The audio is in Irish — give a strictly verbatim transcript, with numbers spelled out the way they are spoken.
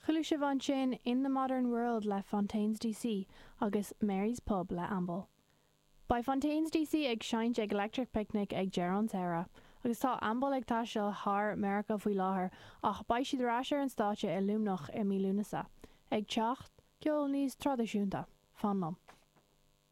Chuala sibh ansin In the Modern World le Fontaines DC agus Mary's Pub le Amble. Beidh Fontaines DC ag seinnt ag Electric Picnic ag deireadh an tsamhraidh, agus tá Amble ag taisteal thar Meiriceá faoi láthair ach beidh siad ar ais ar an stáitse i Luimneach i mí Lúnasa, ag teacht ceol níos traidisiúnta. Fan liom.